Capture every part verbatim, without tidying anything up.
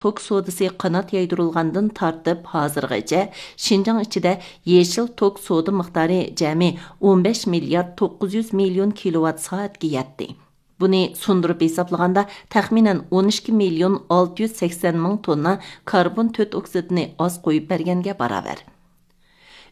توك سودىسى قانات يايدۇرۇلغاندىن تارتىپ ھازىرغىچە شىنجاڭ ئىچىدە يېشىل توك سودا مىقدارى جەمئىي ئون بەش مىليارد توققۇز يۈز مىليون كىلوۋات سائەتكە يەتتى. بۇنى سۇندۇرۇپ ھېسابلىغاندا، تەخمىنەن ئون ئىككى مىليون ئالتە يۈز سەكسەن مىڭ توننا كاربون تۆت ئوكسىدىنى ئاز قويۇپ بەرگەنگە باراۋەر.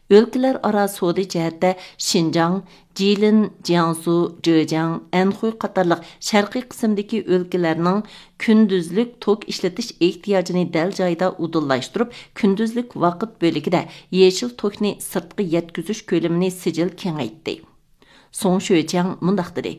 ئۆلكىلەر ئارا سودا جەھەتتە شىنجاڭ، جىلىن، جياڭسۇ، جېجياڭ، ئەنخۇي قاتارلىق شەرقىي قىسىمدىكى ئۆلكىلەرنىڭ كۈندۈزلۈك توك ئىشلىتىش ئېھتىياجىنى دەل جايىدا ئۇدۇللاشتۇرۇپ، كۈندۈزلۈك ۋاقىت بۆلىكىدە يېشىل توكنى سىرتقا يەتكۈزۈش كۆلىمىنى سىجىل كېڭەيتتى. سۇڭ شۆچياڭ مۇنداق دېدى: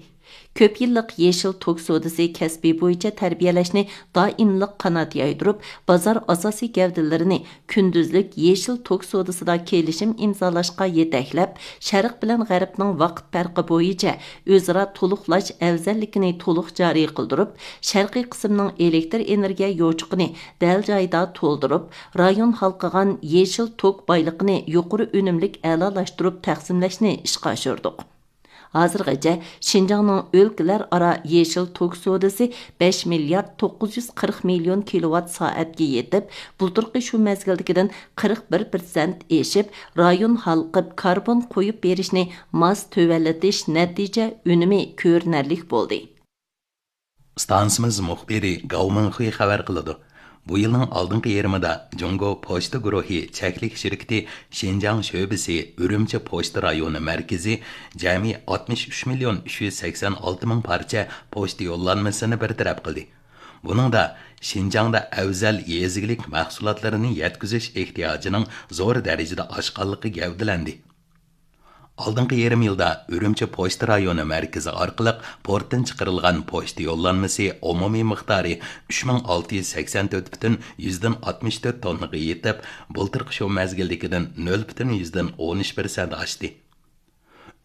كۆپ يىللىق يېشىل توك سودىسى كەسپى بويىچە تەربىيەلەشنى دائىملىق قانات يايدۇرۇپ، بازار ئاساسىي گەۋدىلىرىنى كۈندۈزلۈك يېشىل توك سودىسىدا كېلىشىم ئىمزالاشقا يېتەكلەپ، شەرق بىلەن غەربنىڭ ۋاقىت پەرقى بويىچە ئۆزئارا تولۇقلاش ئەۋزەللىكىنى تولۇق جارى قىلدۇرۇپ، شەرقىي قىسىمنىڭ ئېلېكتر ئېنېرگىيە يوچۇقىنى دەل جايىدا تولدۇرۇپ، رايون ھالقىغان يېشىل توك بايلىقىنى يۇقىرى ئۈنۈملۈك ئەلالاشتۇرۇپ تەقسىملەشنى ئىشقا ئاشۇردۇق. ھازىرغىچە شىنجاڭنىڭ ئۆلكىلەر ئارا يېشىل توك سودىسى بەش مىليارد توققۇز يۈز قىرىق مىليون كىلوۋات سائەتكە يېتىپ، بۇلتۇرقى شۇ مەزگىلدىكىدىن قىرىق بىر پىرسەنت ئېشىپ، رايون ھالقىپ كاربون قويۇپ بېرىشنى ماس تۆۋەنلىتىش نەتىجە ئۈنۈمى كۆرۈنەرلىك بولدى. ئىستانسىمىز مۇخبىرى گاۋ مىڭخۇي خەۋەر قىلىدۇ. بۇ يىلنىڭ ئالدىنقى يېرىمىدا جۇڭگو پوچتا گۇرۇھى چەكلىك شىركىتى شىنجاڭ شۆبىسى ئۈرۈمچى پوچتا رايونى مەركىزى جەمئىي ئاتمىش ئۈچ مىليون ئۈچ يۈز سەكسەن ئالتە مىڭ پارچە پوچتا يوللانمىسىنى بىر تەرەپ قىلدى. بۇنىڭدا شىنجاڭدا ئەۋزەل يېزا ئىگىلىك مەھسۇلاتلىرىنى يەتكۈزۈش ئېھتىياجىنىڭ زور دەرىجىدە ئاشقانلىقى گەۋدىلەندى. ئالدىنقى يېرىم يىلدا ئۈرۈمچى پوچتا رايونى مەركىزى ئارقىلىق پورتتىن چىقىرىلغان پوچتا يوللانمىسى ئومۇمىي مىقدارى ئۈچ مىڭ ئالتە يۈز سەكسەن تۆت پۈتۈن يۈزدىن ئاتمىش تۆت توننىغا يېتىپ، بۇلتۇرقى شۇ مەزگىلدىكىدىن نۆل پۈتۈن يۈزدىن ئون ئۈچ پىرسەنت ئاشتى.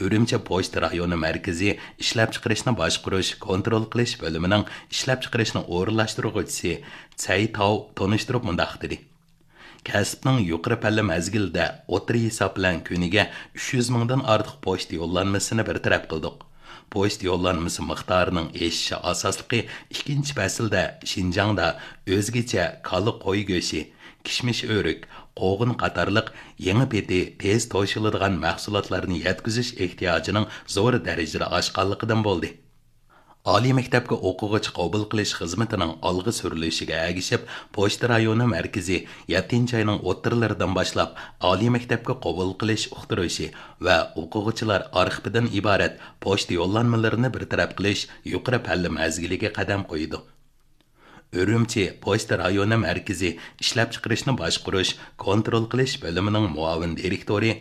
ئۈرۈمچى پوچتا رايونى مەركىزى ئىشلەپچىقىرىشنى باشقۇرۇش، كونترول قىلىش بۆلۈمىنىڭ ئىشلەپچىقىرىشنى ئورۇنلاشتۇرغۇچىسى سەي تاۋ تونۇشتۇرۇپ مۇنداق دېدى: كەسىپنىڭ يۇقىرى پەللە مەزگىلىدە ئوتتۇرا ھېساب بىلەن كۈنىگە ئۈچ يۈز مىڭدىن ئارتۇق پوچتا يوللانمىسىنى بىر تەرەپ قىلدۇق. پوچتا يوللانمىسى مىقدارىنىڭ ئېشىشى ئاساسلىقى ئىككىنچى پەسىلدە شىنجاڭدا ئۆزگىچە كالا، قوي گۆشى، كىشمىش، ئۆرۈك، قوغۇن قاتارلىق يېڭى پېتى تېز توشۇلىدىغان مەھسۇلاتلارنى يەتكۈزۈش ئېھتىياجىنىڭ زور دەرىجىدە ئاشقانلىقىدىن بولدى. ئالىي مەكتەپكە ئوقۇغۇچى قوبۇل قىلىش خىزمىتىنىڭ ئالغا سۈرۈلۈشىگە ئەگىشىپ، پوچتا رايونى مەركىزى يەتتىنچى ئاينىڭ ئوتتۇرىلىرىدىن باشلاپ ئالىي مەكتەپكە قوبۇل قىلىش ئۇقتۇرۇشى ۋە ئوقۇغۇچىلار ئارخىپىدىن ئىبارەت پوچتا يوللانمىلىرىنى بىر تەرەپ قىلىش يۇقىرى پەللە مەزگىلىگە قەدەم قويىدۇ. ئۈرۈمچى پوچتا رايونى مەركىزى ئىشلەپچىقىرىشنى باشقۇرۇش، كونترول قىلىش بۆلۈمىنىڭ مۇئاۋىن دىرېكتورى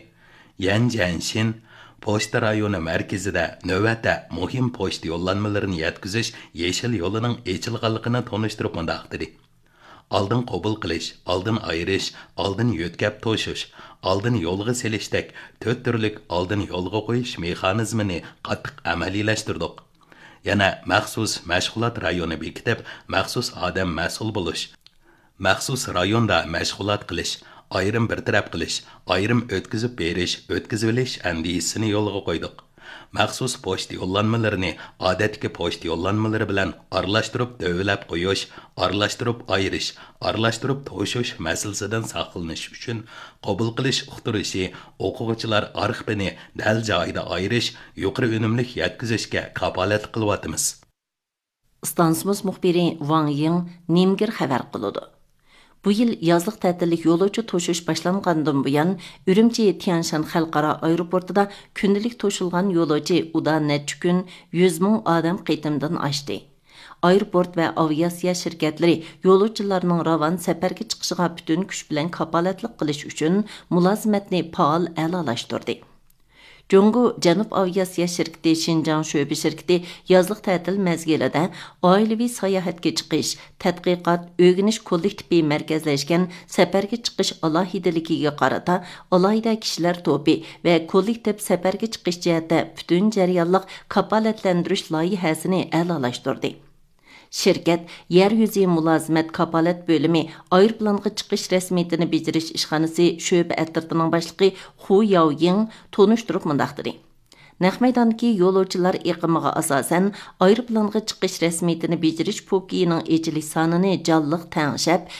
يەن جيەنشىن پوچتا رايونى مەركىزىدە نۆۋەتتە مۇھىم پوچتا يوللانمىلىرىنى يەتكۈزۈش يېشىل يولىنىڭ ئېچىلغانلىقىنى تونۇشتۇرۇپ مۇنداق دېدى: ئالدىن قوبۇل قىلىش، ئالدىن ئايرىش، ئالدىن يۆتكەپ توشۇش، ئالدىن يولغا سېلىشتەك تۆت تۈرلۈك ئالدىن يولغا قويۇش مېخانىزمىنى قاتتىق ئەمەلىيلەشتۈردۇق. يەنە مەخسۇس مەشغۇلات رايونى بېكىتىپ، مەخسۇس ئادەم مەسئۇل بولۇش، مەخسۇس رايوندا مەشغۇلات قىلىش، ئايرىم بىر تەرەپ قىلىش، ئايرىم ئۆتكۈزۈپ بېرىش، ئۆتكۈزۈۋېلىش ئەندىزىسىنى يولغا قويدۇق. مەخسۇس پوچتا يوللانمىلىرىنى ئادەتتىكى پوچتا يوللانمىلىرى بىلەن ئارىلاشتۇرۇپ دۆۋىلەپ قويۇش، ئارىلاشتۇرۇپ ئايرىش، ئارىلاشتۇرۇپ توشۇش مەسىلىسىدىن ساقلىنىش ئۈچۈن قوبۇل قىلىش ئۇقتۇرۇشى ئوقۇغۇچىلار ئارخىپىنى دەل جايىدا ئايرىش، يۇقىرى ئۈنۈملۈك يەتكۈزۈشكە كاپالەتلىك قىلىۋاتىمىز. ئىستانسىمىز مۇخبىرى ۋاڭ يىڭ نىمگىر خەۋەر قىلىدۇ. بۇ يىل يازلىق تەتىللىك يولۇچى توشۇش باشلانغاندىن بۇيان، ئۈرۈمچى تيەنشان خەلقئارا ئايروپورتىدا كۈندىلىك توشۇلغان يولۇچى ئۇدا نەچچە كۈن يۈز مىڭ ئادەم قېتىمدىن ئاشتى. ئايروپورت ۋە ئاۋىئاتسىيە شىركەتلىرى يولۇچىلارنىڭ راۋان سەپەرگە چىقىشىغا پۈتۈن كۈچ بىلەن كاپالەتلىك قىلىش ئۈچۈن مۇلازىمەتنى پائال ئەلالاشتۇردى. جۇڭگو جەنۇب ئاۋىئاتسىيە شىركىتى شىنجاڭ شۆبە شىركىتى يازلىق تەتىل مەزگىلىدە ئائىلىۋى ساياھەتكە چىقىش، تەتقىقات، ئۆگىنىش كوللېكتىپى مەركەزلەشكەن سەپەرگە چىقىش ئالاھىدىلىكىگە قارىتا ئالاھىدە كىشىلەر توپى ۋە كوللېكتىپ سەپەرگە چىقىش جەھەتتە پۈتۈن جەريانلىق كاپالەتلەندۈرۈش لايىھەسىنى ئەلالاشتۇردى. شىركەت يەر يۈزى مۇلازىمەت كاپالەت بۆلۈمى ئايروپىلانغا چىقىش رەسمىيىتىنى بېجىرىش ئىشخانىسى شۆبە ئەترىتىنىڭ باشلىقى خۇ ياۋيىڭ تونۇشتۇرۇپ مۇنداق دېدى: نەق مەيداندىكى يولۇچىلار ئېقىمىغا ئاساسەن، ئايروپىلانغا چىقىش رەسمىيىتىنى بېجىرىش پوكىيىنىڭ ئېچىلىش سانىنى جانلىق تەڭشەپ،